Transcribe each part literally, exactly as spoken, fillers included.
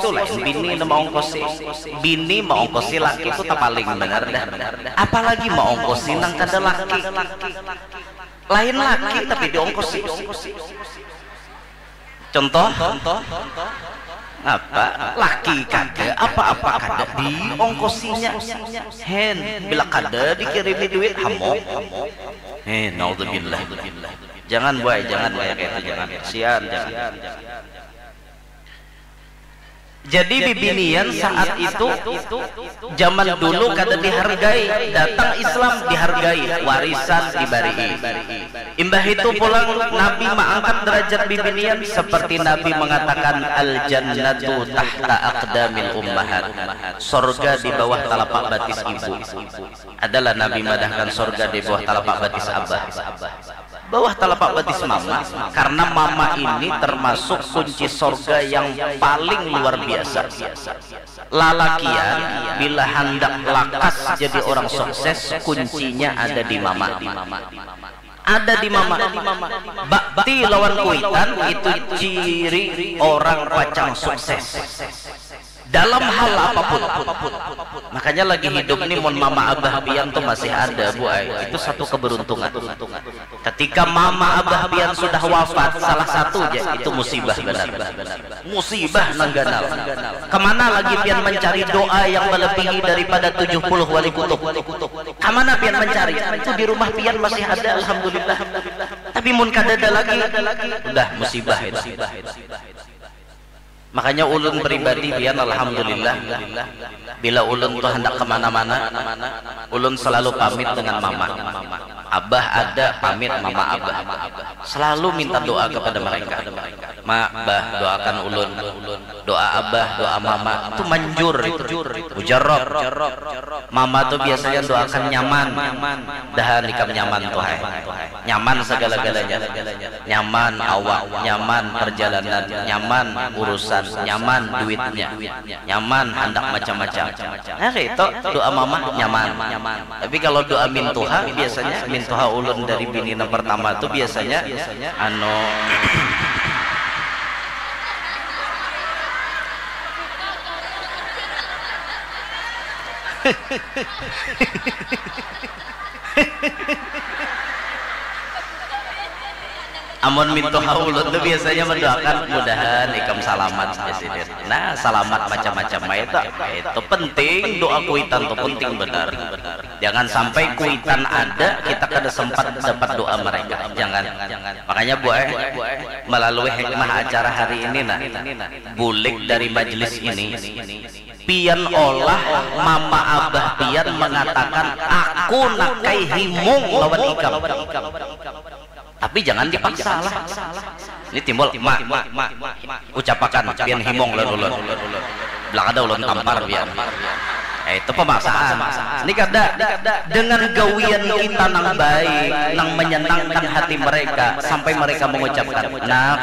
tu lain bini nang maongkosi. Bini maongkosi laki tu tapaling banar dah. Apalagi maongkosi nang kada laki. Lain laki tapi diongkosi. Contoh, apa? Laki kada, apa-apa kada diongkosinya. Hen, bila kada dikirimi duit, hamok. Hen, naudzubillah. Jangan, buai, jangan kayak itu, jangan. Kasihan, jangan. Jadi bibinian saat itu, zaman dulu kada dihargai, datang Islam dihargai, warisan dibarii. Imbah itu pulang Nabi maangkat derajat bibinian seperti Nabi mengatakan, "Al jannatu tahta aqdamil ummahat." Sorga di bawah talapak batis ibu. Adalah Nabi madahkan sorga di bawah talapak batis abah. Bawah talapak batis mama, karena mama ini termasuk kunci sorga yang paling luar biasa. Lalakian bila handak lakas jadi orang sukses, kuncinya ada di mama. Ada di mama. Bakti lawan kuitan itu ciri orang pacang sukses. Dalam hal apapun. Makanya lagi hidup ni mun mama abah pian tu masih ada, bu ai, itu satu keberuntungan. Ketika mama abah pian sudah wafat, salah satu ja, itu musibah banar. Musibah nang ganal. Kemana lagi pian mencari doa yang melebihi daripada tujuh puluh wali kutub? Kemana pian mencari? Itu di rumah pian masih ada, alhamdulillah. Tapi mun kadada lagi, udah musibah itu. Makanya ulun pribadi pian, alhamdulillah, bila ulun tu handak kemana-mana, ulun selalu pamit dengan mama. Abah ada, pamit mama abah. Selalu minta doa kepada mereka. Ma, bah, doakan ulun. Doa abah, doa mama, tu manjur itu. Mujarab. Mama tu biasanya doakan nyaman. Dahan ikam nyaman tu, hai. Nyaman segala-galanya. Nyaman awak, nyaman perjalanan, nyaman urusan, nyaman duitnya, nyaman handak macam-macam. Nah, itu doa mama nyaman. Tapi kalau doa mintuha, biasanya mintuha ulun dari bini nang pertama tu biasanya, anu, amun mintuha ulun tu biasanya mendoakan mudahan ikam salamat, jar sidin. Nah, salamat macam-macam ai tu, itu penting, doa kuitan tu penting banar. Jangan sampai kuitan ada, kita kada sempat dapat doa mereka. Jangan. Makanya, bu ai, melalui hikmah acara hari ini, nah, bulik dari majlis ini, pian olah mama abah pian mengatakan, "Aku nakai himung lawan ikam." Tapi jangan dipaksa lah. Ini timbul, "Ma, ucapakan pian himung lawan ulun." Bilang ada ulun tampar pian. Eh, itu pemaksaan. Ini kada, dengan gawian kita nang baik, nang menyenangkan hati mereka, sampai mereka mengucapkan, "Nak,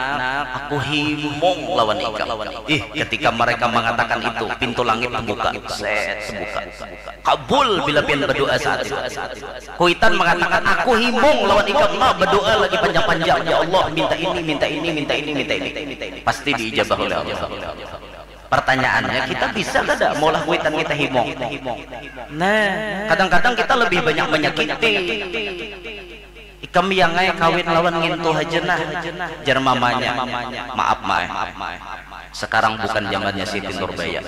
aku himung lawan ikam." Ih, ketika mereka mengatakan itu, pintu langit terbuka. Set, terbuka. Kabul bila pian berdoa saat itu. Kuitan mengatakan, "Aku himung lawan ikam, ma, berdoa lagi panjang-panjang, ya Allah, minta ini, minta ini, minta ini, minta ini." Pasti diijabah oleh Allah. Pertanyaannya, kita bisa kada maulah kuitan kita himung? Nah, kadang-kadang kita lebih banyak menyakiti. "Ikam yang ai kawin lawan ngintu haja nah," jar mamanya. "Maaf, ma ai. Sekarang bukan zamannya Siti Nurbaya.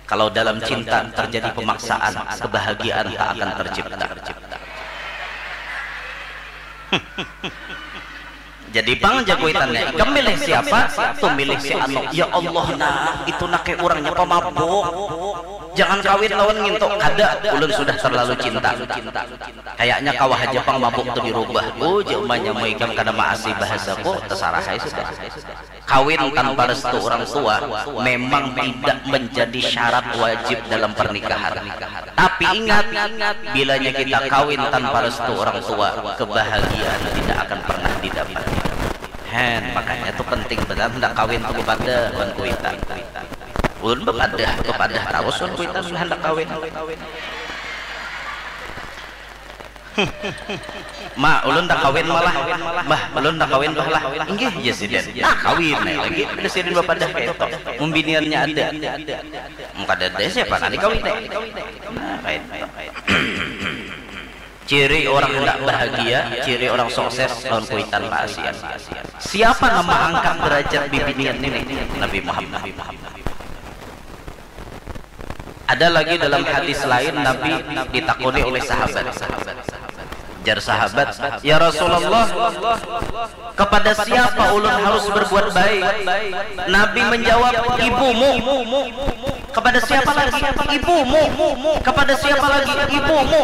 Kalau dalam cinta terjadi pemaksaan, kebahagiaan tak akan tercipta." Jadi pang, jar kuitannya, "Ikam milih siapa?" "Tuh, milih si anu." "Ya Allah, nah, itu nak kayak orangnya pemabuk. Jangan kawin lawan ngintu." "Kada, ulun sudah terlalu cinta. Kayaknya kawa haja pang mabuk tu dirubah." "Oh," jar umanya, "mun ikam kada maasi bahasaku, tasarah ai sudah." Kawin tanpa restu orang tua memang tidak menjadi syarat wajib dalam pernikahan. Tapi ingat, bilanya kita kawin tanpa restu orang tua, kebahagiaan tidak akan pernah didapat. Hen, makanya tu penting banar handak kawin tu bepadah wan kuitan. Ulun bepadah, bepadah tarus wan kuitan handak kawin. Ma, ulun dah kawin malah. Bah, ulun dah kawin bah lah. Inggih, jar sidin. Nah, kawin ai lagi. Ada sidin bapadah kaya itu. Mun biniannya ada. Mun kadada, siapa nang dikawini? Nah, kaya itu. Ciri orang handak bahagia, ciri orang sukses lawan kuitan paasian. Siapa nang maangkat derajat bibinian ini? Nabi Muhammad. Ada lagi dalam hadis lain, Nabi ditakuni oleh sahabat. Jar sahabat, "Ya Rasulullah, kepada siapa ulun harus berbuat baik?" Nabi menjawab, "Ibumu." "Kepada siapa lagi?" "Ibumu." "Kepada siapa lagi?" "Ibumu."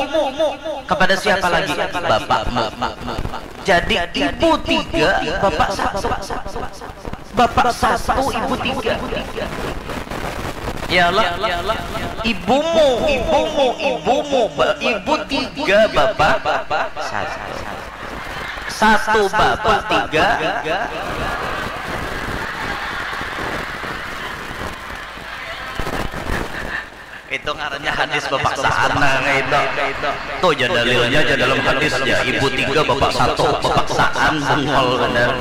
"Kepada siapa lagi?" "Bapakmu." Jadi ibu tiga, bapak satu. Bapak satu, ibu tiga. Iyalah. Ibumu, ibumu, ibumu, ba-, ibu tiga, bapak satu. Satu bapak tiga. Itu ngarannya hadis bapaksaan, nah, itu. Tuh, jar dalilnya, jar dalam hadisnya, ibu tiga, bapak satu, bapaksaan, bungol banar.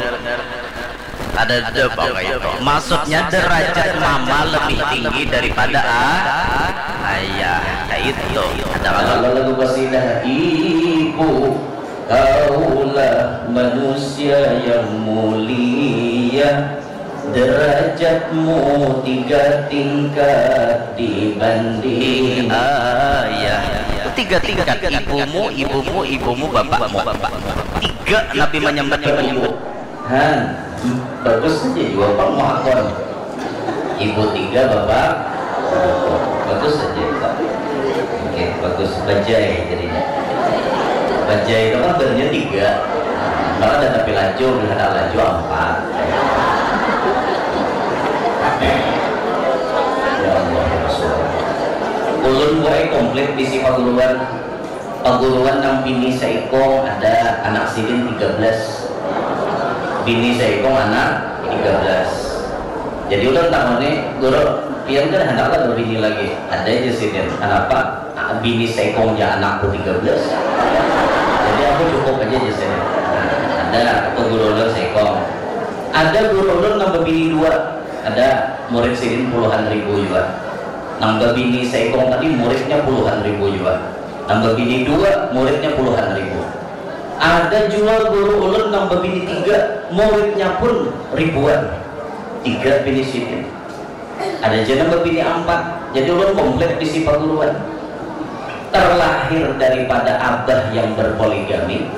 Ada, ada apa itu? Maksudnya, derajat mama lebih tinggi daripada a-, ayah. Kayak itu. Ada kalau lagu qasidah, "Ibu, kaulah manusia yang mulia, derajatmu tiga tingkat dibanding ayah." Tiga tingkat, ibumu, ibumu, ibumu, bapakmu. Tiga Nabi menyambat ibu. Han, bagus saja jua pang muhakon. Ibu tiga, bapak satu. Bagus saja itu. Oke, bagus. Bajai jadinya. Bajai itu kan barunya tiga. Malah ada tapi laju, ada laju empat. Ya Allah, ya Rasulullah. Ulun buai komplit bisi paguruan. Paguruan nang bini saikung ada, anak sidin tiga belas, bini saikung anak tiga belas. Jadi ulun takuni, "Guru, pian kan handaklah babini lagi?" "Ada," jar sidin. "Kanapa?" "Ah, bini saikung ja anakku tiga belas. Jadi aku cukup aja," jar sidin. Nah, ada tu guru ulun saikung. Ada guru ulun nang babini dua, ada, murid sidin puluhan ribu jua. Nang babini saikung tadi muridnya puluhan ribu jua. Nang babini dua, muridnya puluhan ribu. Ada jua guru ulun nang babini tiga, muridnya pun ribuan. Tiga bini sidin. Ada ja nang babini ampat. Jadi ulun komplit bisi paguruan. Terlahir daripada abah yang berpoligami,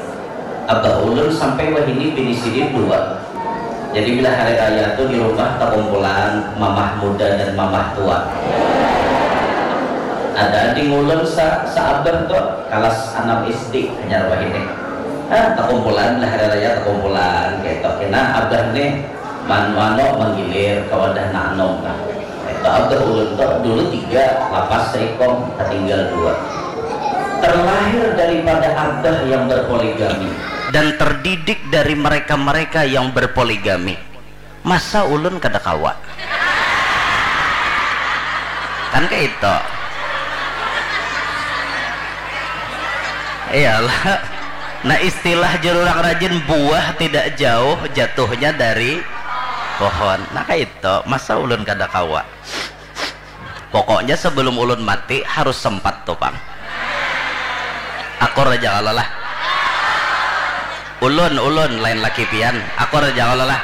abah ulun sampai wahini bini sidin dua. Jadi bila hari raya tu di rumah takumpulan mamah muda dan mamah tua. Ada ading ulun sa, saabah tu, kalas anam S D hanyar wahini. Ah, takumpulan bila hari raya, takumpulan kaitu. Kena abah nih man, mano manggilir ka wadah nang anum nah. Kaitu abah ulun tu dulu tiga, lapas saikung, tatinggal dua. Terlahir daripada abah yang berpoligami dan terdidik dari mereka-mereka yang berpoligami. Masa ulun kada kawa? Kan kaitu. Iyalah. Nah, istilah jar urang rajin, buah tidak jauh jatuhnya dari pohon. Nah, kaitu. Masa ulun kada kawa? Pokoknya sebelum ulun mati harus sempat tu pang. Akur aja kalo lah. Ulun, ulun, lain laki pian. Akur aja kalo lah.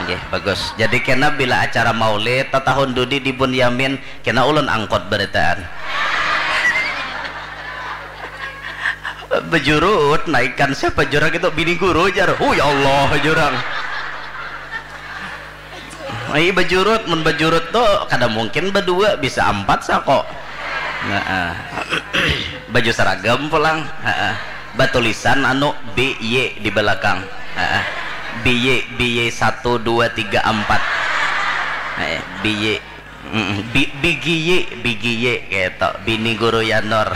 Nggih, bagus. Jadi kena bila acara maulid tatahun dudi di Bunyamin, kena ulun angkut barataan. Bejurut, naikan siapa jurang itu, bini guru jar. Hu, ya Allah, jurang. Ai bajurut, mun bajurut tu kada mungkin badua, bisa ampat sako. Nah, baju seragam pulang, batulisan anu B Y di belakang. B Y, B Y satu dua tiga empat. Eh, B Y. Mm, bi-, bigiyi, bigiyi, gitu. Bini guru Yanur.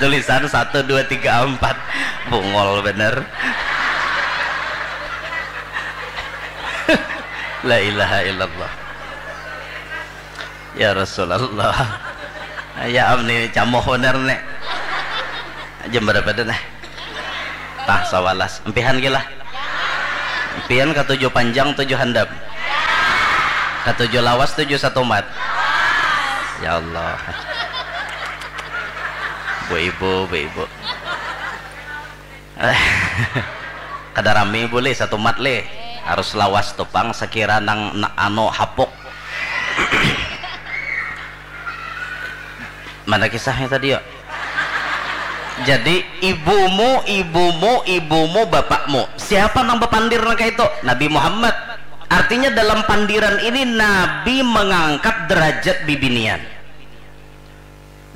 Tulisan satu, dua, tiga, empat. Bungol bener. La ilaha illallah. Ya Rasulullah. Ya am ni camoh bener nih. Jam berapa dah nah? Tah sawalas. Empihan gila. Empian katuju panjang tujuh handap. Katuju lawas tujuh satumat. Ya Allah. Bu ibu, bu ibu. Kada rami bu lih satumat lih. Harus lawas tu pang sekira nang na- anu hapuk. Mana kisahnya tadi yo? Jadi ibumu, ibumu, ibumu, bapakmu. Siapa nang bapandir nang kaitu? Nabi Muhammad. Artinya dalam pandiran ini Nabi mengangkat derajat bibinian.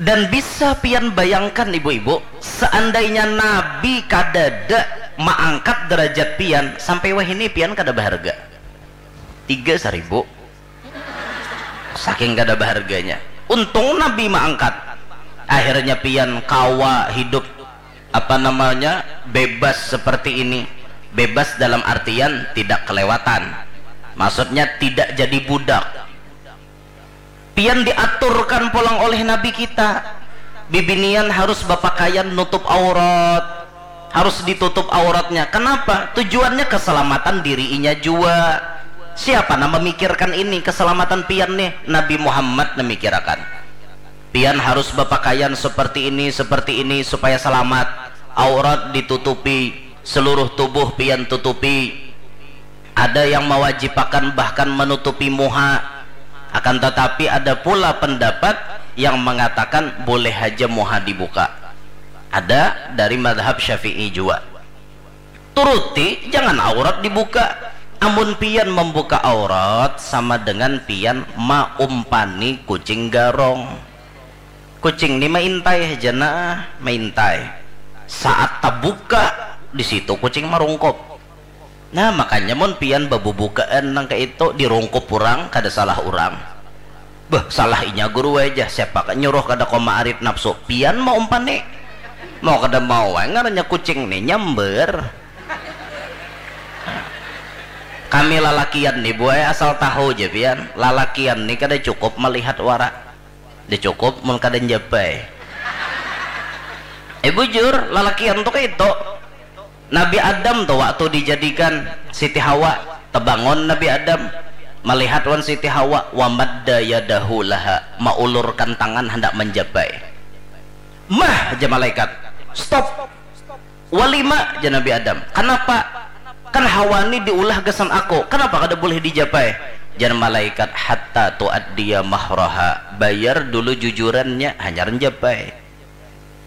Dan bisa pian bayangkan ibu-ibu, seandainya Nabi kadada maangkat derajat pian, sampai wahini pian kada berharga. Tiga saribu. Saking kada berharganya. Untung Nabi maangkat. Akhirnya pian kawa hidup apa namanya bebas seperti ini. Bebas dalam artian tidak kelewatan. Maksudnya tidak jadi budak. Pian diaturkan pulang oleh Nabi kita. Bibinian harus berpakaian nutup aurat. Harus ditutup auratnya. Kenapa? Tujuannya keselamatan dirinya jua. Siapa nang memikirkan ini keselamatan pian nih? Nabi Muhammad memikirakan. Pian harus berpakaian seperti ini, seperti ini supaya selamat. Aurat ditutupi, seluruh tubuh pian tutupi. Ada yang mewajibakan bahkan menutupi muha. Akan tetapi ada pula pendapat yang mengatakan boleh haja muha dibuka. Ada dari madhab Syafi'i jua. Turuti, jangan aurat dibuka. Amun pian membuka aurat sama dengan pian maumpani kucing garong. Kucing ni maintai haja nah, maintai. Saat tabuka, di situ kucing marungkup. Nah makanya mun pian babubukaan nang kaitu dirungkup urang kada salah urang. Beuh salah inya guru ai jar, siapa kah nyuruh kada kawa maarit napsu, pian mau umpan ni. Mau kada mau ai ngarannya kucing ni nyambar. Kami lalakian ni buai asal tahu ja pian, lalakian ni kada cukup malihat wara. Kada cukup mun kada njapai. Eh bujur, lalakian tu kaitu. Nabi Adam tu waktu dijadikan Siti Hawa, tebangun Nabi Adam malihat wan Siti Hawa, wa madda yadahu laha, maulurkan tangan handak manjapai. Mah, jar malaikat, stop. Walima, jar Nabi Adam, kanapa? Kan Hawa ni diulah gasan aku, kanapa kada bulih dijapai? Jar malaikat, hatta tuaddiya mahraha, bayar dulu jujurannya hanyar njapai.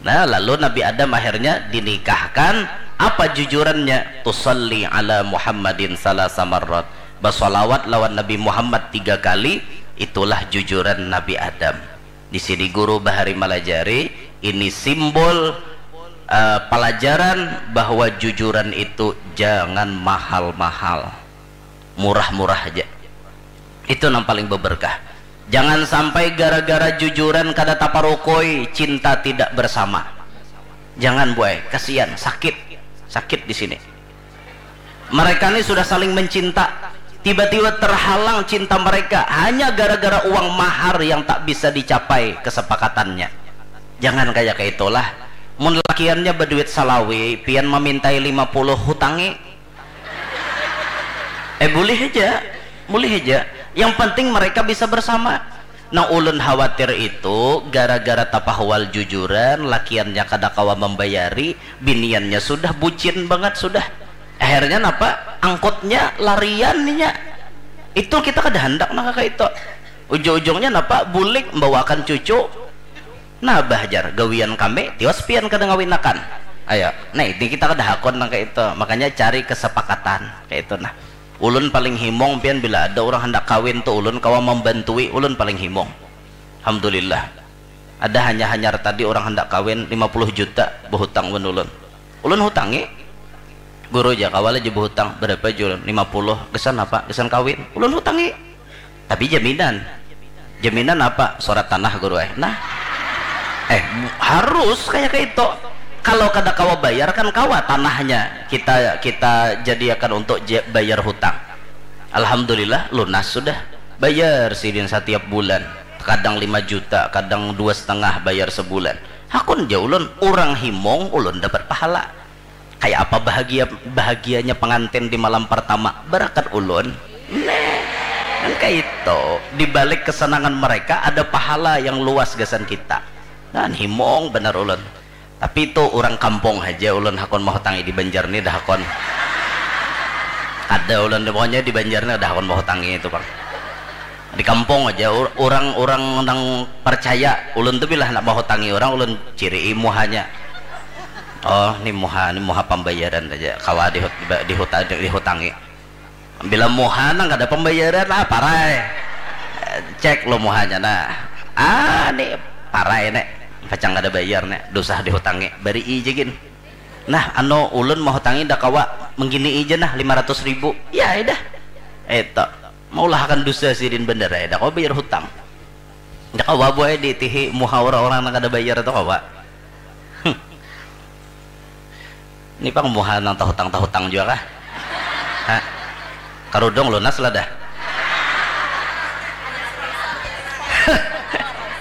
Nah, lalu Nabi Adam akhirnya dinikahkan. Apa jujurannya? Tusalli ala Muhammadin salasa marrat. Basalawat lawan Nabi Muhammad tiga kali, itulah jujuran Nabi Adam. Di sini guru bahari malajari, ini simbol eh, pelajaran bahwa jujuran itu jangan mahal-mahal. Murah-murah aja. Itu yang paling beberkah. Jangan sampai gara-gara jujuran kada taparukui, cinta tidak bersama. Jangan buai, kasihan, sakit. Sakit di sini. Mereka ni sudah saling mencinta, tiba-tiba terhalang cinta mereka hanya gara-gara uang mahar yang tak bisa dicapai kesepakatannya. Jangan kaya kaitulah. Mun lakiannya baduit salawi, pian mamintai lima puluh, hutangi. Eh, bulih haja. Bulih haja. Yang penting mereka bisa bersama. Nang ulun khawatir itu gara-gara tapahual jujuran, lakiannya kada kawa mambayari, biniannya sudah bucin bangat sudah. Akhirnya napa? Angkutnya larian inya. Itu kita kada handak nang kaya itu. Ujung-ujungnya napa? Bulik membawakan cucu. Nah bah jar, gawian kami, tiwas pian kada ngawinakan. Ayo, nah ini kita kada hakun nang kaya itu. Makanya cari kesepakatan kaya itu nah. Ulun paling himung pian bila ada urang handak kawin tu ulun kawa mambantui, ulun paling himung. Alhamdulillah. Ada hanya hanyar tadi urang handak kawin lima puluh juta bahutang wan ulun. Ulun hutangi. Guru ja kawa lah ja bahutang, berapa ja ulun? Lima puluh. Gasan apa? Gasan kawin. Ulun hutangi. Tapi jaminan. Jaminan apa? Surat tanah guru eh. Nah. Eh, harus kaya kaitu. Kalau kada kawa bayar kan kawa tanahnya kita kita jadiakan untuk bayar hutang. Alhamdulillah lunas sudah. Bayar sidin satiap bulan. Kadang lima juta, kadang dua setengah bayar sebulan. Hakun ja ulun, urang himung ulun dapat pahala. Kaya apa bahagia, bahagianya pengantin di malam pertama barakat ulun. Nah, kan kaitu, di balik kesenangan mereka ada pahala yang luas gasan kita. Nah, himung banar ulun. Tapi tu urang kampung haja ulun hakun mahutangi di Banjar ni dah hakun. Kada ulun, pokoknya di Banjar ni kada hakun mahutangi itu pang. Di kampung aja, ur-, urang-urang nang percaya, ulun tu bila handak mahutangi urang, ulun cirii muhanya. Oh, ni muha, ni muha pambayaran aja, kawa dihut-, dihuta-, dihutangi. Bila muha nang kada pambayaran, ah, parai. Cek lo muhanya, nah. Ah, ni parai, nek. Pacang kada bayar, nek. Dusah dihutangi. Barii ja gin. Nah, anu, ulun mahutangi nda kawa, mengginii ja nah, lima ratus ribu. Ya, ai dah. Eto. Maulahakan dusa sidin banar ai, nda kawa bayar hutang. Nda kawa, Bu, ai, diitihi muha urang-urang nang kada bayar tu kawa. Hm. Ni pang muha nang tahutang-tahutang jua kah? Ha? Karudung lunas lah dah.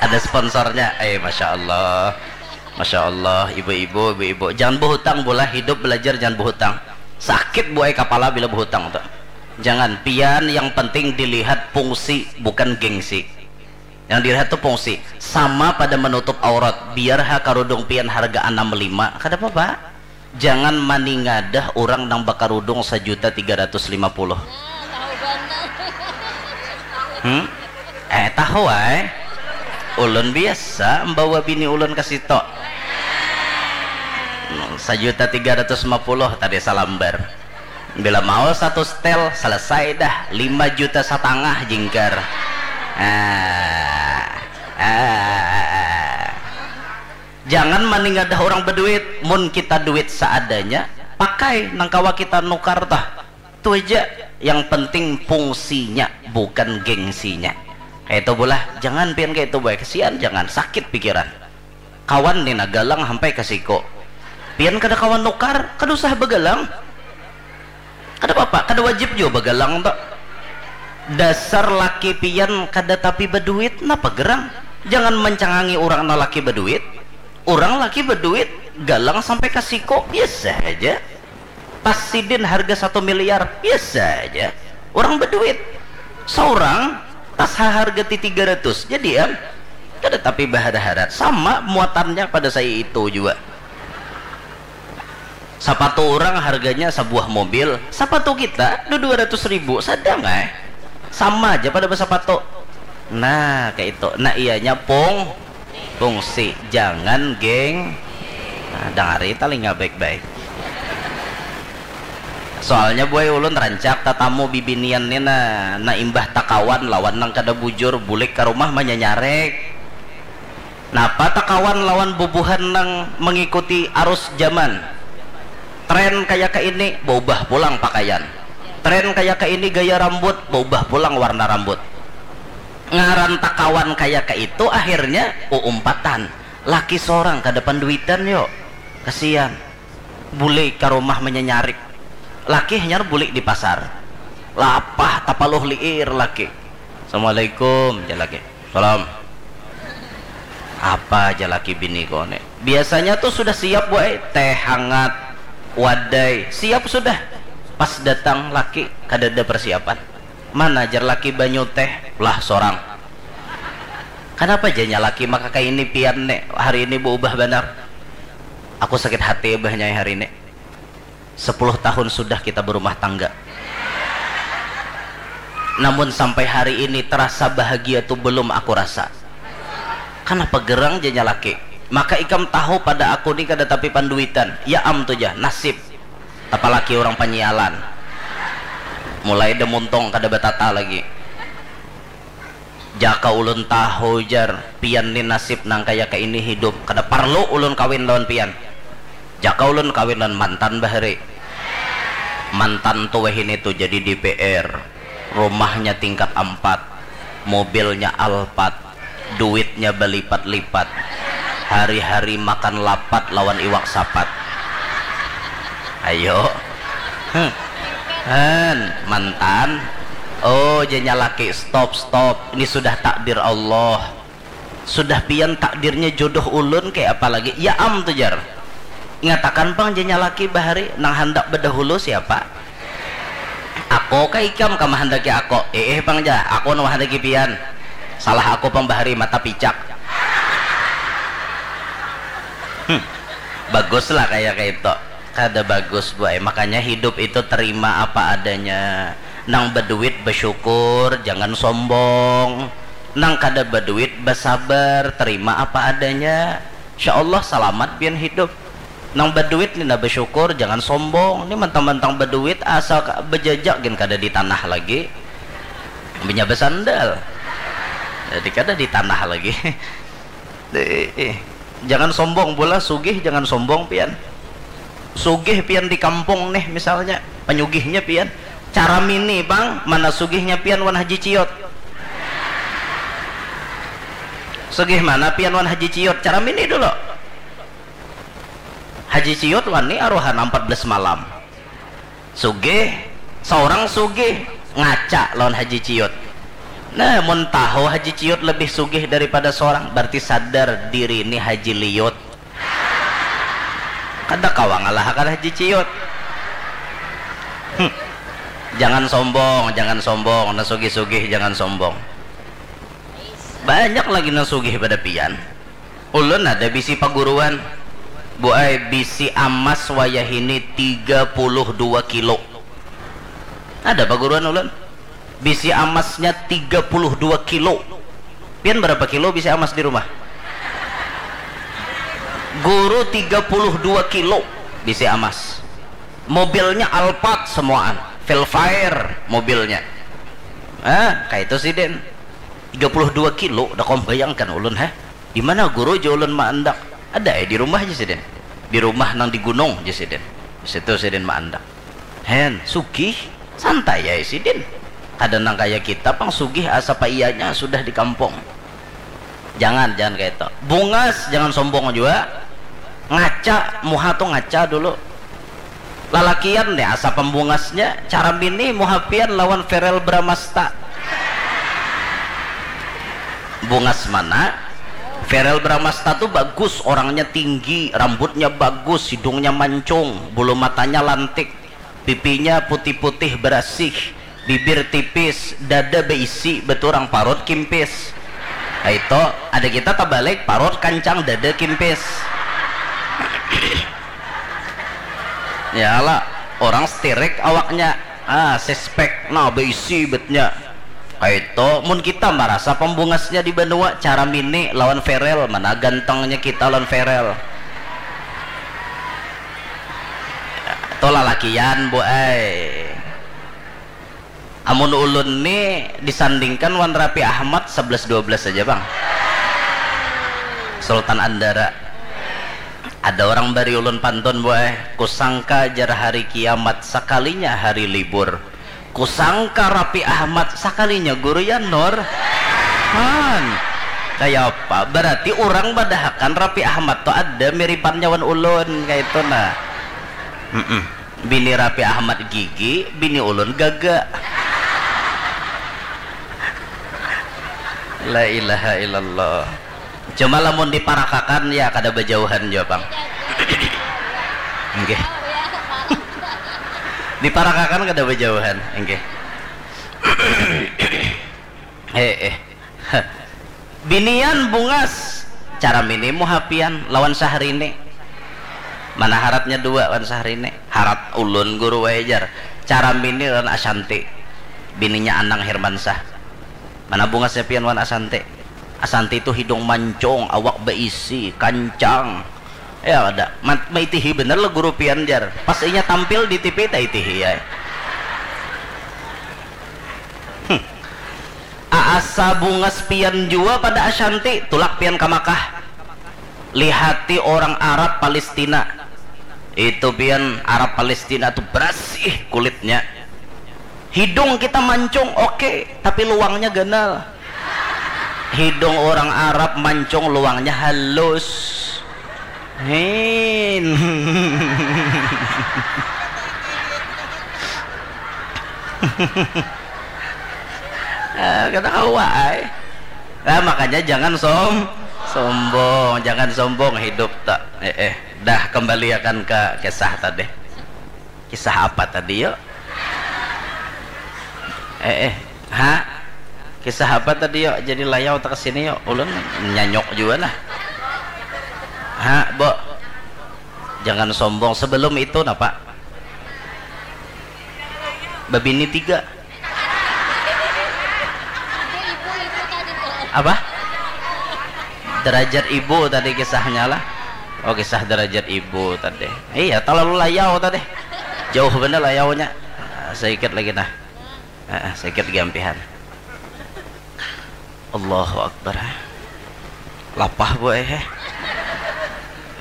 Ada sponsornya. Eh, Masya Allah. Masya Allah, ibu-ibu, ibu-ibu. Jangan behutang, Bu lah. Hidup belajar jangan behutang. Sakit, Bu, ai, kapala bila behutang tu. Jangan. Pian yang penting dilihat fungsi, bukan gengsi. Yang dilihat tu fungsi. Sama pada menutup aurat. Biar ha karudung pian harga anam lima, kada apa-apa. Jangan maningadah urang nang bakarudung sajuta tiga ratus lima puluh. Hmm? Eh, tahu ai. Ulun biasa membawa bini ulun ke situ. Hmm, sajuta tiga ratus lima puluh tadi salambar. Bila mau satu setel, selesai dah. Lima juta setengah jingkar. Ah, ah. Jangan maningadah orang beduit. Mun kita duit seadanya, pakai nang kawa kita nukar tah. Tu aja. Yang penting fungsinya, bukan gengsinya. Kayak itu, Bu lah. Jangan pian kayak itu, boy. Kesian, jangan. Sakit pikiran. Kawan ni nah galang hampai ka siko. Pian kada kawa nukar, kada usah bagalang. Kada papa, kada wajib jua bagalang tu. Dasar laki pian kada tapi baduit, napa gerang? Jangan mancangangi urang nang laki baduit. Urang laki baduit, galang sampai ka siko, biasa haja. Tas sidin harga satu miliar, biasa haja. Urang baduit. Saurang, tas haharga ti tiga ratus. Jadi am, kada tapi bahara-hara. Sama muatannya pada saya itu jua. Sapatu urang harganya sabuah mobil, sapatu kita dua ratus ribu, sadang ai. Sama aja pada basapatu. Nah, kayak itu. Nah, ianya pung, fungsi. Jangan geng. Nah, dangari talinga baik-baik. Soalnya, boy, ulun rancak tatamu bibinian ni, nah, nah, imbah takawan lawan nang kada bujur, bulik ka rumah manyanyarek. Napa takawan lawan bubuhan nang mengikuti arus zaman? Tren kaya ka ini, baubah pulang pakaian. Tren kaya ka ini, gaya rambut, baubah pulang warna rambut. Ngaran takawan kaya ka itu, akhirnya uumpatan. Laki sorang kada panduitan, yo. Kasian. Bulik ka rumah manyanyarik. Laki hanyar bulik di pasar. Lapah tapaluh liir laki. "Assalamualaikum," jar laki. "Salam." Apa jar laki bini ko ni? Biasanya tuh sudah siap, boy. Teh hangat, wadai, siap sudah. Pas datang laki, kada ada persiapan. "Mana," jar laki, "banyu teh?" "Lah, sorang." "Kanapa," janya laki, "maka kaini pian ne, hari ini beubah banar?" "Aku sakit hati, Abah, nyai, hari ini. Sepuluh tahun sudah kita berumah tangga. Namun sampai hari ini terasa bahagia tu belum aku rasa." "Kanapa gerang?" janya laki. "Maka ikam tahu pada aku ni kada tapi panduitan." "Ya am tu jah, nasib. Tapalaki orang panyialan. Mulai da muntung kada batata lagi." "Jaka ulun tahu," jar, "pian ni nasib nang kaya kaini hidup, kada parlu ulun kawin lawan pian. Jaka ulun kawin lawan mantan bahari. Mantan tu wahini tu jadi D P R, rumahnya tingkat ampat, mobilnya Alphard, duitnya balipat-lipat, hari-hari makan lapat lawan iwak sapat." Ayo. Hmm. Han, mantan. "Oh," janya laki, "stop, stop. Ini sudah takdir Allah. Sudah pian takdirnya jodoh ulun, kaya apa lagi? Ya am tu jar. Ingatakan pang janya laki bahari, nang handak bedahulu siapa? Ako kah ikam ka mahandaki ako? Iih pang jar, ako nang mahandaki pian. Salah ako pang bahari, mata picak. Hmm. Bagus lah kaya kaitu. Kada bagus buai. Makanya hidup itu terima apa adanya. Nang beduit besyukur, jangan sombong. Nang kada beduit besabar, terima apa adanya. Insya Allah salamat pian hidup. Nang beduit ni nah besyukur, jangan sombong. Ni mentang-mentang beduit asa ka- bejajak gin kada di tanah lagi. Inya besandal. Jadi kada di tanah lagi. Eh, eh. Jangan sombong pula, sugih jangan sombong pian. Sugih pian di kampung nih misalnya, panyugihnya pian. Cara mini pang, mana sugihnya pian wan Haji Ciot. Sugih mana pian wan Haji Ciot, cara mini dulu. Haji Ciot wani aruhan empat belas malam. Sugih, seorang sugih, ngaca lawan Haji Ciut. Nah, mun tahu Haji Ciut lebih sugih daripada seorang, berarti sadar diri ni Haji Liut. Kada kawa ngalahakan Haji Ciut. Hmm. Jangan sombong, jangan sombong. Nah, sugih-sugih jangan sombong. Banyak lagi nang sugih pada pian. Ulun ada bisi paguruan, Bu ai, bisi amas wayahini tiga puluh dua kilo. Ada paguruan ulun, bisi amasnya tiga puluh dua kilo. Pian berapa kilo bisi amas di rumah? Guru tiga puluh dua kilo bisi amas. Mobilnya Alphard semuaan, Velfire mobilnya. Ah, kaitu sidin. Tiga puluh dua kilo, dah kom bayangkan ulun, heh. Di mana guru ja ulun maandak? Ada ai di rumah ja sidin. Di rumah nang di gunung ja sidin. Di situ sidin maandak. Hen, sugih, santai ai sidin. Kada nang kaya kita pang sugih asa paiyanya sudah di kampung. Jangan, jangan kaya itu. Bungas, jangan sombong jua. Ngaca, muha tu ngaca dulu. Lalakian nih asa pembungasnya, cara mini muha pian lawan Verel Bramasta. Bungas mana? Verel Bramasta tu bagus, orangnya tinggi, rambutnya bagus, hidungnya mancung, bulu matanya lantik, pipinya putih-putih berasih, bibir tipis, dada beisi, beturang parut kimpis. Nah, itu ada kita terbalik, parut kancang, dada kimpis. Ya lah, orang setirik awaknya. Ah, sispek, nah beisi betnya. Kaitu, mun kita marasa pembungasnya di banua, cara mini lawan Verel, mana gantengnya kita lawan Verel. Itu lalakian, Bu ai. Amun ulun ni disandingkan wan Raffi Ahmad sebelas dua belas saja, Bang. Sultan Andara. Ada orang bari ulun pantun, Bu ai. Kusangka jar hari kiamat, sakalinya hari libur. Kusangka Raffi Ahmad, sakalinya Guru Yan Nur. Han. Kaya apa? Berarti urang madahakan Raffi Ahmad tu ada miripannya wan ulun, kaitu nah. Mm-mm. Bini Raffi Ahmad gigi, bini ulun gaga. La ilaha illallah. Cuma lamun diparakakan, ya kada bajauhan jua pang. Nggih. Diparakakan kada bajauhan, nggih. Eh, eh. Binian bungas, cara mini muha pian lawan Syahrini. Mana haratnya dua wan Syahrini? Harat ulun guru wae jar. Cara mini lawan Ashanti. Bininya Anang Hermansyah. Mana bungasnya pian wan Ashanti? Ashanti tu hidung mancung, awak beisi, kancang. Ya ada. Mat- maitihi bener lah guru pian jar. Pas inya tampil di T V taitihi ya. Hmm. Asa bungas pian jua pada Ashanti, tulak pian ka Makkah. Lihati orang Arab Palestina. Itu pian Arab Palestina tu berasih kulitnya. Hidung kita mancung oke, tapi luangnya ganal. Hidung orang Arab mancung luangnya halus. Hin. Ah, kada kawa ai. Nah, makanya jangan som sombong, jangan sombong hidup tak. Eh, eh. Dah, kembaliakan ke kisah tadi. Kisah apa tadi, yuk? Eh, eh. Ha? Kisah apa tadi, yuk? Jadi layau tak kesini, yuk. Ulun nyanyok juga lah. Ha, Bo. Jangan sombong. Sebelum itu, napa? Babini tiga. Apa? Derajat ibu tadi kisahnya lah. Oh, kisah derajat ibu tadi. Iya, terlalu layau tadi. Jauh bener layaunya. Ah, sedikit lagi nah. Ah, sedikit gampihan. Allahu Akbar. Lapah, Bu, eh.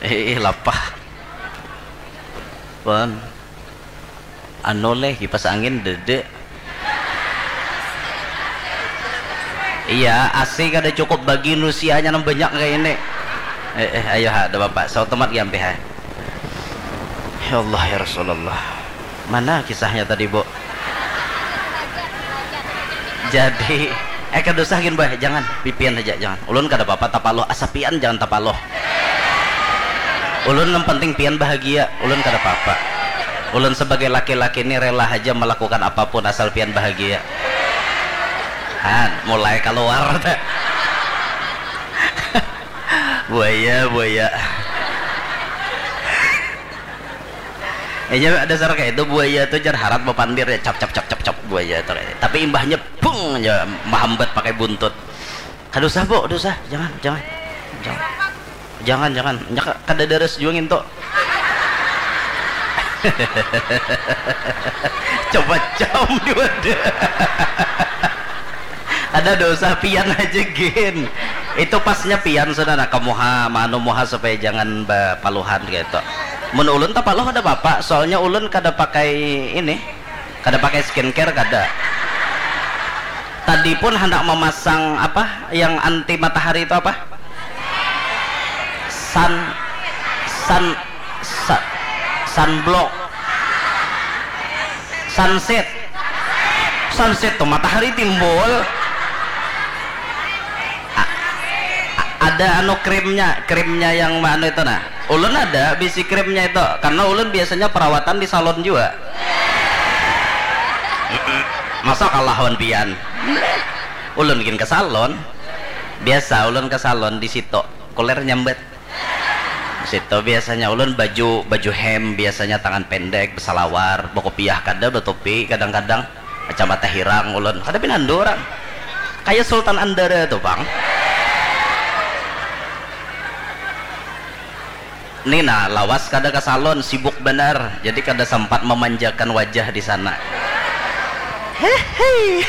Eh, lapah. Pun. Anu leh, kipas angin dede. Iya, A C kada cukup bagi nusianya nang banyak kayak ini. Eh, eh, ayo ha, ada bapak, sautomat gampih ha. Ya Allah, ya Rasulullah. Mana kisahnya tadi, Bu? Jadi, eh, kada usah gin, Bah, jangan, pipian aja, jangan. Ulun kada apa-apa tapaluh, asa pian jangan tapaluh. Ulun yang penting pian bahagia, ulun kada apa-apa. Ulun sebagai laki-laki ini rela aja melakukan apapun asal pian bahagia. Han, mulai keluar teh. Buaya, buaya. Inya dasar kayak itu, buaya tuh jar harat bapandir ya, cap cap cap cap cap, buaya tuh kayak. Tapi imbahnya bung aja mahambat pakai buntut. Kada usah, Bu, kada usah. Jangan, jangan. Jangan. Jangan, jangan. Nya ka-, kada daras jua ngintu. Coba cam jua ada. Ada dosa pian aja gin. Itu pasnya pian sudah nak ke muha, manu muha supaya jangan bapaluhan gitu. Mun ulun tapaluh ada apa-apa, soalnya ulun kada pakai ini, kada pakai skincare kada. Tadi pun hendak memasang apa yang anti matahari itu apa? Sun, sun, sun sunblock, sunset. Sunset tuh matahari timbul. A-, a-, ada anu krimnya, krimnya yang anu itu nah. Ulun ada bisi krimnya itu karena ulun biasanya perawatan di salon juga. Masa kalah wan pian? Ulun gin ke salon. Biasa ulun ke salon di situ. Kuler nyambat. Situ biasanya ulun baju, baju hem biasanya tangan pendek, besalawar, bekopiah kada, betopi kadang-kadang, kacamata hirang ulun. Kada pinandu orang. Kayak Sultan Andara tuh, Bang. Ni nah, lawas kada ke salon, sibuk benar. Jadi kada sempat memanjakan wajah di sana. Hehe.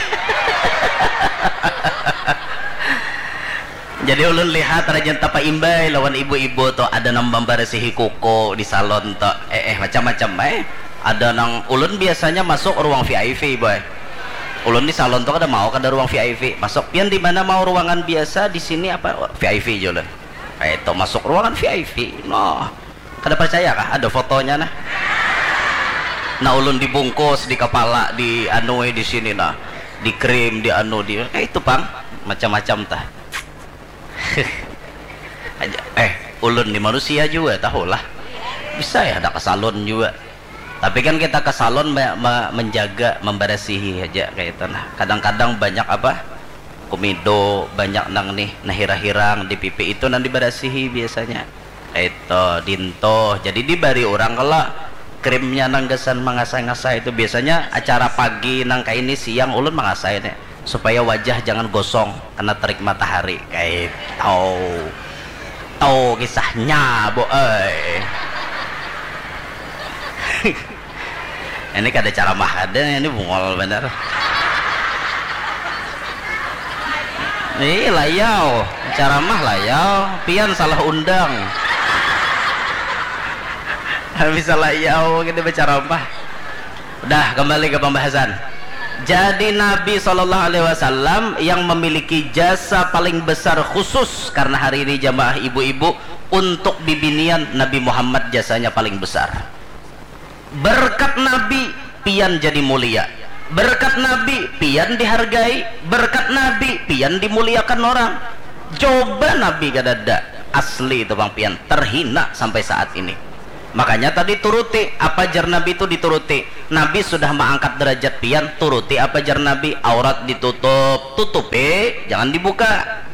Jadi ulun lihat rajin tapaimbai lawan ibu-ibu tu, ada nang mambarasihi kuku di salon tu, eh, eh, macam-macam eh. Ada nang, ulun biasanya masuk ruang V I P, boy. Ulun di salon tu kada mau kada ruang V I P. Masuk, pian di mana mau ruangan biasa, di sini apa V I P aja ulun. Eh, itu masuk ruangan V I P. Nah, kada percaya kah? Ada fotonya nah. Nah, ulun dibungkus di kepala, di anu, eh, di sini nah. Di krim, di anu, di, eh, itu pang, macam-macam tah. Aja, eh, ulun ni manusia juga tahulah. Bisa ya ada ke salon juga. Tapi kan kita ke salon me- me- menjaga, membersihi aja kayak itu nah. Kadang-kadang banyak apa? Kumido, banyak nang nih, nah hirang-hirang di pipi itu nang dibersihi biasanya. Itu dinto. Jadi dibari orang kalau krimnya nang gasan mengasah-ngasah itu biasanya acara pagi nang kayak ini, siang ulun mengasah ini supaya wajah jangan gosong kena terik matahari. Kayak itu. Tahu kisahnya, Bu, eh. Ini kada ceramah kada, ini bungol bener. Ih, layau, ceramah layau, pian salah undang. Bisa layau kita berceramah. Dah, kembali ke pembahasan. Jadi Nabi Shallallahu Alaihi Wasallam yang memiliki jasa paling besar khusus karena hari ini jamaah ibu-ibu untuk bibinian Nabi Muhammad jasanya paling besar. Berkat Nabi, pian jadi mulia. Berkat Nabi, pian dihargai. Berkat Nabi, pian dimuliakan orang. Coba Nabi kadada. Asli itu bang pian, terhina sampai saat ini. Makanya tadi turuti, apa jar Nabi itu dituruti. Nabi sudah mengangkat derajat pian, turuti apa jar Nabi. Aurat ditutup, tutupi, jangan dibuka.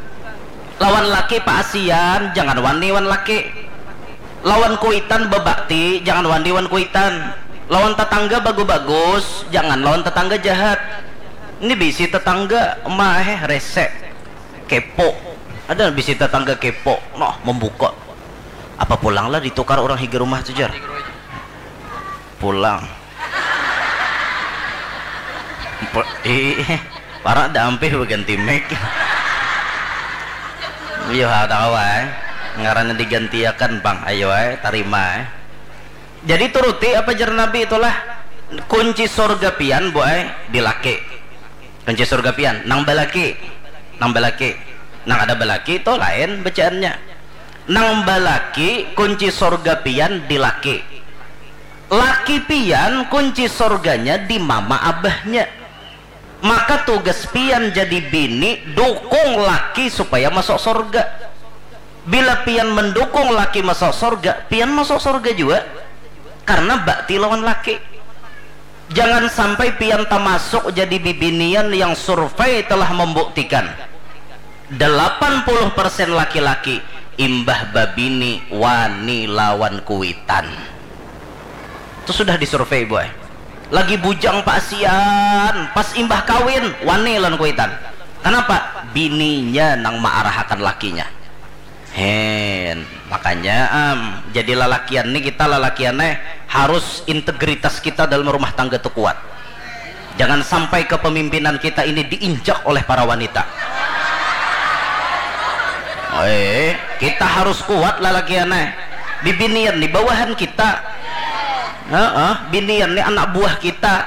Lawan laki paasian, jangan wani wan laki. Lawan kuitan bebakti, jangan wani wan kuitan. Lawan tetangga bagus-bagus, jangan lawan tetangga jahat. Ini bisi tetangga, mah eh rese, kepo. Ada bisi tetangga kepo, noh membuka. Apa pulang lah ditukar orang higa rumah tu jar? Pulang. Ih, para dah ampih berganti mic. Iya, ada kawa eh. Ngarannya digantiakan bang, ayo eh, tarima eh. Jadi turuti apa jar Nabi itulah kunci surga pian bu eh, di laki. Kunci surga pian, nang balaki. Nang balaki. Nang ada balaki itu lain bacaannya. Nang balaki kunci surga pian di laki. Laki pian kunci surganya di mama abahnya. Maka tugas pian jadi bini, dukung laki supaya masuk surga. Bila pian mendukung laki masuk surga, pian masuk surga juga. Karena bakti lawan laki. Jangan sampai pian tamasuk jadi bibinian yang survei telah membuktikan delapan puluh persen laki-laki imbah babini wani lawan kuitan. Itu sudah disurvei boy. Lagi bujang pasian, pas imbah kawin wani lawan kuitan. Kenapa? Bininya nang maarahakan lakinya. Hen, makanya am, jadi lalakian nih kita lalakian eh harus integritas kita dalam rumah tangga tuh kuat. Jangan sampai kepemimpinan kita ini diinjak oleh para wanita. Eh, kita harus kuat lalakian eh. Bibinian di bawahan kita. Heeh, binian nih anak buah kita.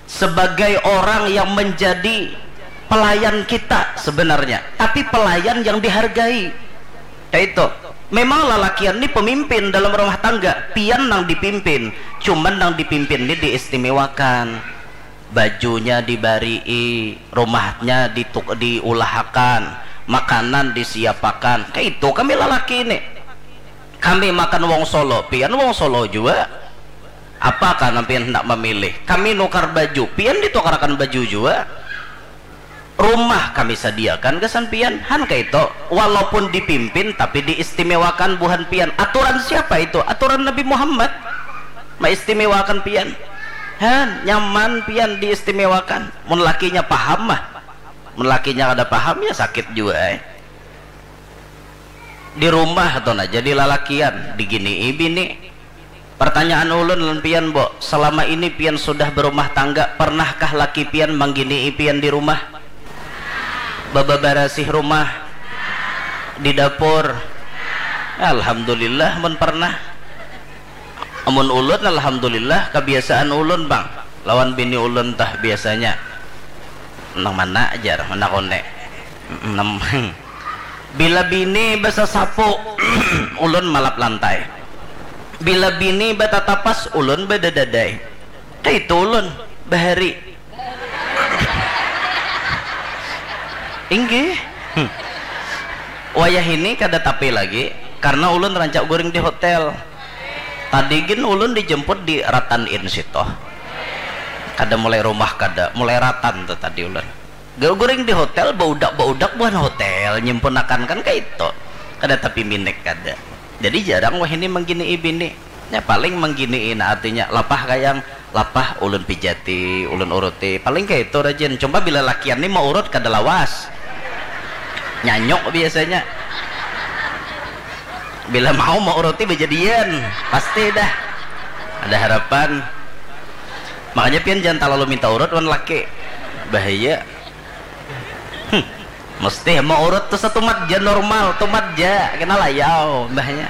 Sebagai orang yang menjadi pelayan kita sebenarnya, tapi pelayan yang dihargai. Ya itu. Memang lalakian ni pemimpin dalam rumah tangga, pian nang dipimpin, cuman nang dipimpin ni diistimewakan. Bajunya dibarii, rumahnya dituk diulahakan, makanan disiapakan. Kayak itu kami lalaki ini. Kami makan wong Solo, pian wong Solo juga. Apakah pian hendak memilih? Kami nukar baju, pian ditukarakan baju juga. Rumah kami sadiakan gasan pian, han kaito. Walaupun dipimpin tapi diistimewakan buhan pian. Aturan siapa itu? Aturan Nabi Muhammad. Maistimewakan pian. Han, nyaman pian diistimewakan. Mun lakinya paham mah. Mun lakinya kada paham ya sakit juga eh. Di rumah tuh nah jadi lalakian diginii bini. Pertanyaan ulun lan pian bo, selama ini pian sudah berumah tangga, pernahkah laki pian mangginii pian di rumah? Bebebarasih rumah, di dapur. Alhamdulillah mun pernah. Amun ulun alhamdulillah kebiasaan ulun bang lawan bini ulun tah biasanya nang mana ajar mana kone. Bila bini besesapu, ulun malap lantai. Bila bini batatapas, ulun badadadai. Kaitu ulun bahari. Inggih. Hmm. Wayah ini kada tapi lagi karena ulun rancak guring di hotel. Tadi gin ulun dijemput di Ratan Inn situ. Kada mulai rumah kada, mulai Ratan tu tadi ulun. Guring di hotel, baudak-baudak buhan hotel nyimpunakan kan kaitu. Kada tapi minik kada. Jadi jarang wahini mangginii bini. Nya paling mangginii nah artinya lapah kayang, lapah ulun pijati, ulun uruti. Paling kaitu rajin. Cuma bila lakian ni maurut kada lawas. Nyanyuk biasanya. Bila mau mauruti bajadian, pasti dah. Ada harapan. Makanya pian jangan talalu minta urut wan laki. Bahaya. Hmm. Mesti mau urut tu satumat ja normal, tumat ja kena layau bahaya.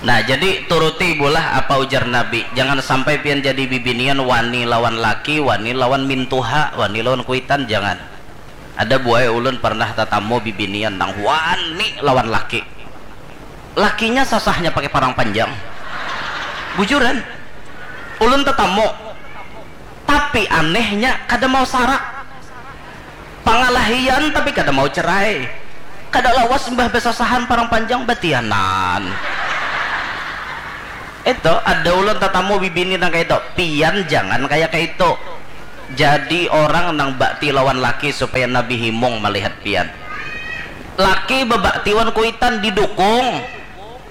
Nah, jadi turuti bulah apa ujar Nabi. Jangan sampai pian jadi bibinian wani lawan laki, wani lawan mintuha, wani lawan kuitan, jangan. Ada buai ulun pernah tatamu bibinian nang wani lawan laki. Lakinya sasahnya pakai parang panjang. Bujuran. Ulun tatamu. Tapi Tapi anehnya kada mau sarak. Pangalahian tapi kada mau cerai. Kada lawas mbah basasahan parang panjang batianan. Itu ada ulun tatamu bibini nang kayak itu. Pian jangan kayak kayak itu. Jadi orang nang bakti lawan laki supaya Nabi Himung melihat pian. Laki bebaktiwan kuitan didukung.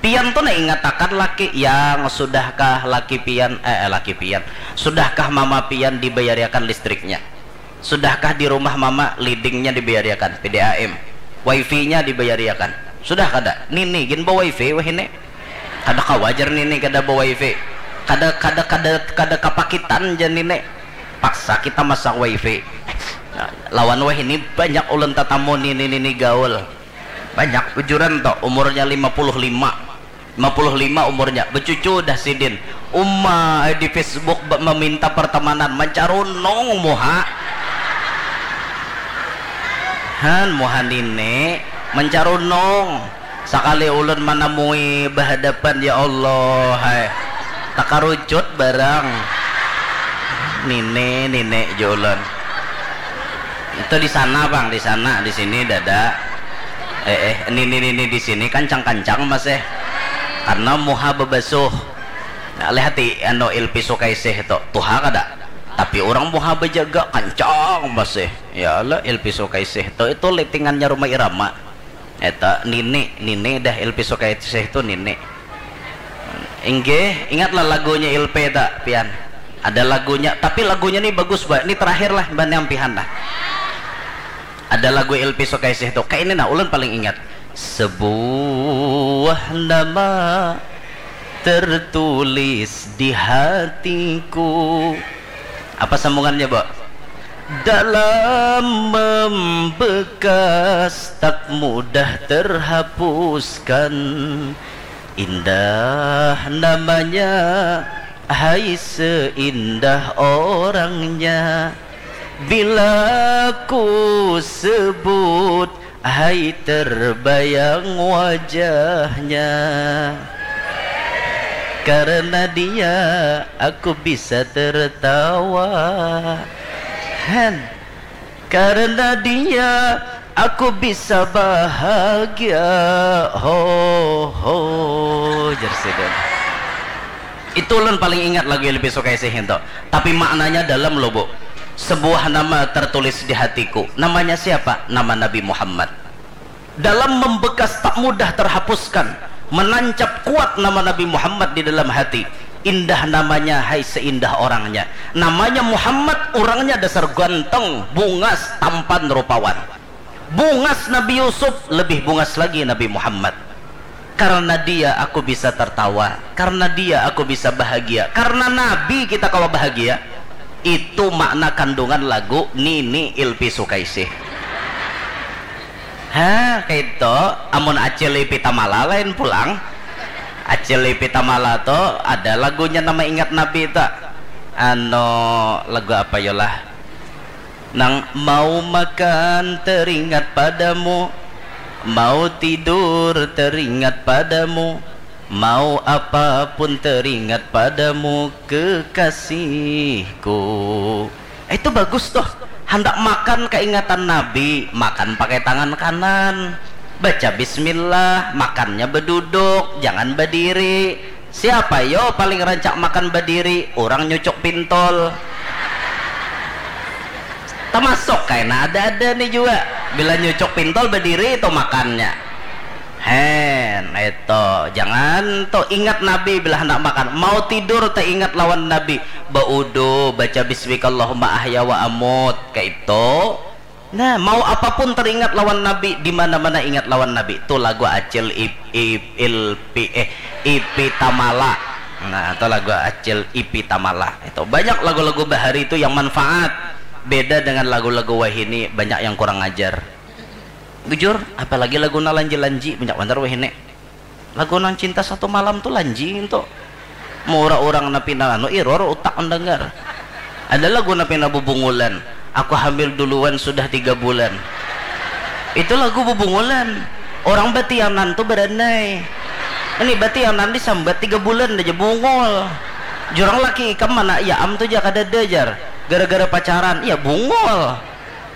Pian tu nah ingatakan laki, yang sudahkah laki pian, eh, eh, laki pian, sudahkah mama pian dibayariakan listriknya? Sudahkah di rumah mama leadingnya dibayariakan, P D A M, wifi-nya dibayariakan? Sudah kada? Nini gin ba wifi wah ini. Kada kawajar nini kada ba wifi. Kada kada kada kada kapakitan ja nini. Paksa kita masak wifi. Nah, lawan wah ini banyak ulun tatamu nini nini gaul. Banyak bujuran to, umurnya lima puluh lima. Lima puluh lima umurnya, becucu dah sidin. Uma di Facebook meminta pertemanan, mencarunung muha. Han, muha nini mencarunung. Sakali ulun manamui bahadapan, ya Allah hai. Takarucut barang. Nini, nini, julun. Itu di sana bang, di sana, di sini dada. Eh, eh, nini, nini di sini kancang-kancang masih. Karena muha bebasuh. Nah, lihat di anu Ilpi Sukaisih itu, tuha kada? Tapi orang muha bejaga kancang masih. Ya Allah, Ilpi Sukaisih itu, itu litingannya rumah Irama. Eta nini, nini dah Ilpi Sukaisih itu nini. Inggih, ingatlah lagunya Ilpi ta, pian. Ada lagunya, tapi lagunya ni bagus ba. Ini terakhir lah, mbah nyampihan lah. Ada lagu Ilpi Sukaisih tu, kayak ini nah, ulun paling ingat. Sebuah nama tertulis di hatiku. Apa sambungannya, Bo? Dalam membekas tak mudah terhapuskan. Indah namanya, hai seindah orangnya. Bila ku sebut, hai terbayang wajahnya. Karena dia aku bisa tertawa. Han. Karena dia aku bisa bahagia. Ho ho, jar sidin. Itu ulun paling ingat lagu Ilpi Sukaisih itu. Tapi maknanya dalam loh, Bu. Sebuah nama tertulis di hatiku. Namanya siapa? Nama Nabi Muhammad. Dalam membekas tak mudah terhapuskan, menancap kuat nama Nabi Muhammad di dalam hati. Indah namanya, hai seindah orangnya. Namanya Muhammad, orangnya dasar ganteng, bungas, tampan, rupawan. Bungas Nabi Yusuf, lebih bungas lagi Nabi Muhammad. Karena dia aku bisa tertawa, karena dia aku bisa bahagia, karena Nabi kita kalau bahagia. Itu makna kandungan lagu Nini Ilpi Sukaisih. Ha, kayak itu. Amun Acil Ipi Tamala lain pulang. Acil Ipi Tamala tuh ada lagunya nama ingat Nabi itu. Ano, lagu apa yolah? Nang mau makan teringat padamu, mau tidur teringat padamu, mau apapun teringat padamu kekasihku. Itu bagus tuh. Handak makan keingatan Nabi, makan pakai tangan kanan. Baca bismillah, makannya beduduk, jangan berdiri. Siapa yo paling rancak makan badiri? Urang nyucuk pintol. Tamasuk kaina ada-ada ni jua. Bila nyucuk pintol badiri itu makannya. Hen, itu. Jangan tu ingat Nabi bila handak makan. Mau tidur teingat lawan Nabi. Baudu, baca bismikallahumma ahya wa amut. Kaitu. Nah, mau apapun teringat lawan Nabi, di mana-mana ingat lawan Nabi. Tu lagu Acil Ip, Ip, Ilpi, eh, Ipi Tamala. Nah, tu lagu Acil Ipi Tamala. Itu banyak lagu-lagu bahari itu yang manfaat. Beda dengan lagu-lagu wahini, banyak yang kurang ajar. Bujur, apalagi lagu na lanji-lanji, banyak banar wahini. Lagu nang cinta satu malam tu lanjing tu. Murah urang na pina anu iror utak mendengar. Ada lagu na pina bubungulan. Aku hamil duluan sudah tiga bulan. Itu lagu bubungulan. Orang batianan tu beranai. Ini batianan disambat tiga bulan aja bungul. Jurang laki ikam mana ya am tu ja kadada jar. Gara-gara pacaran, ya bungul.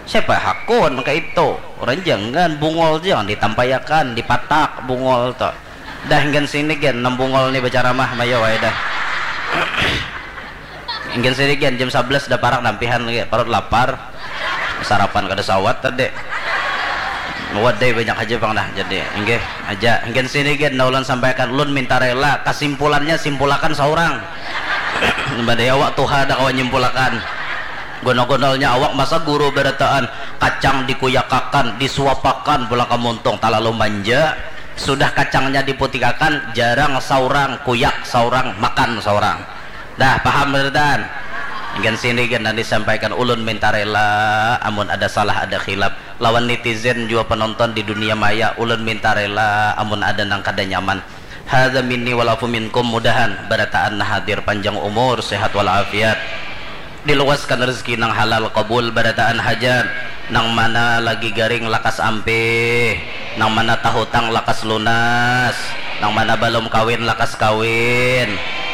Siapa hakun kayak itu? Orang jangan bungul, jangan ditampayakan, dipatak bungul tuh. Dah, ingin sini gen, nang bungul nih bacaramah, mayo wae dah. Ingin sini gen, jam sebelas dah parak nampihan lagi, parut lapar. Sarapan kada sawat tadi. Wadai banyak aja pang dah, jadi inggih aja. Ingin sini gen, nah ulun sampaikan, ulun minta rela, kesimpulannya simpulakan seorang. Badai awak tuha dah kawan nyimpulakan. Gonol-gonolnya awak masa guru berataan, kacang dikuyakakan, disuapakan pulang ke muntung, terlalu manja. Sudah kacangnya diputikakan, jarang seorang kuyak, seorang makan seorang. Dah paham berataan? Ingin sini gen, nanti sampaikan, ulun minta rela amun ada salah, ada khilaf. Lawan netizen jua penonton di dunia maya, ulun minta rela amun ada nang kada nyaman. Hadza minni wal afu minkum, mudahan barataan hadir panjang umur, sehat walafiat. Diluaskan rezeki nang halal, qabul barataan hajat. Nang mana lagi garing lakas ampih, nang mana tahutang lakas lunas, nang mana balum kawin lakas kawin,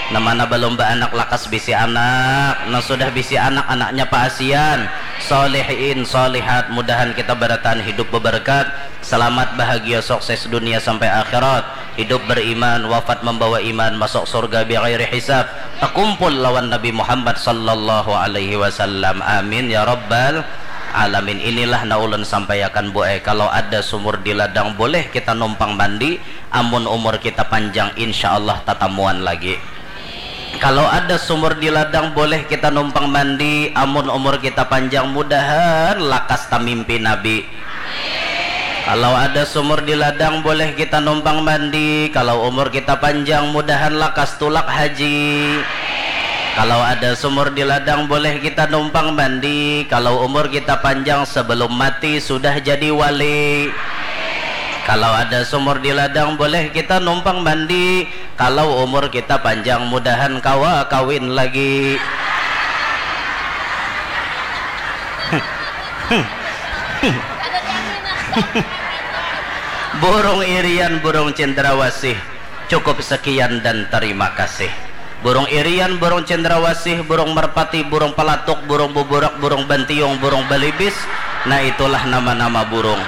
nang mana balum baanak lakas bisi anak, nang sudah bisi anak, anaknya paasian, solihin solihat, mudahan kita barataan hidup beberkat, selamat, bahagia, sukses dunia sampai akhirat, hidup beriman, wafat membawa iman, masuk surga bighairi hisab, takumpul lawan Nabi Muhammad sallallahu alaihi wasallam. Amin ya rabbal alamin. Inilah na ulun sampaiakan, Bu ai, kalau ada sumur di ladang boleh kita numpang mandi, amun umur kita panjang insya Allah tatamuan lagi. Kalau ada sumur di ladang boleh kita numpang mandi, amun umur kita panjang mudahan lakas tamimpi Nabi. Kalau ada sumur di ladang boleh kita numpang mandi, kalau umur kita panjang mudahan lakas tulak haji. Kalau ada sumur di ladang boleh kita numpang mandi, kalau umur kita panjang sebelum mati sudah jadi wali. Kalau ada sumur di ladang boleh kita numpang mandi, kalau umur kita panjang mudahan kawa kawin lagi. Burung irian, burung cendrawasih. Cukup sekian dan terima kasih. Burung irian, burung cendrawasih, burung merpati, burung pelatuk, burung buburak, burung bantiung, burung balibis. Nah, itulah nama-nama burung.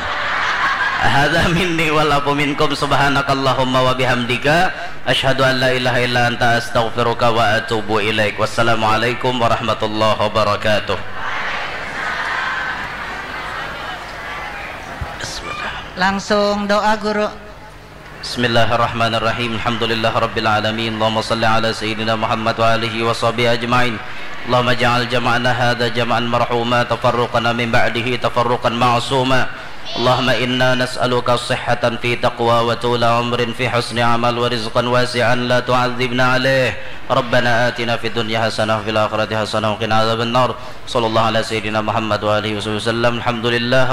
Hadza minni wal afu minkum, subhanakallahumma wa bihamdika, asyhadu an la ilaha illa anta, astaghfiruka wa atubu ilaik. Wassalamualaikum warahmatullahi wabarakatuh. Bismillah. Langsung doa, Guru. Bismillahirrahmanirrahim. Alhamdulillahirabbil alamin. Allahumma shalli ala sayyidina Muhammad wa alihi wa sahbihi ajmain. Allahumma ij'al jama'ana hadza jama'an marhuma, tafarruqana min ba'dihi tafarruqan ma'suma. Allahumma inna nas'aluka sihhatan fi taqwa wa tula umrin fi husni amal wa rizqan wasi'an la tu'adzibna alaih. Rabbana atina fid dunya hasanah wa fil akhirati hasanah wa qina adzabannar. Sallallahu ala sayyidina Muhammad wa alihi wasallam. Alhamdulillah.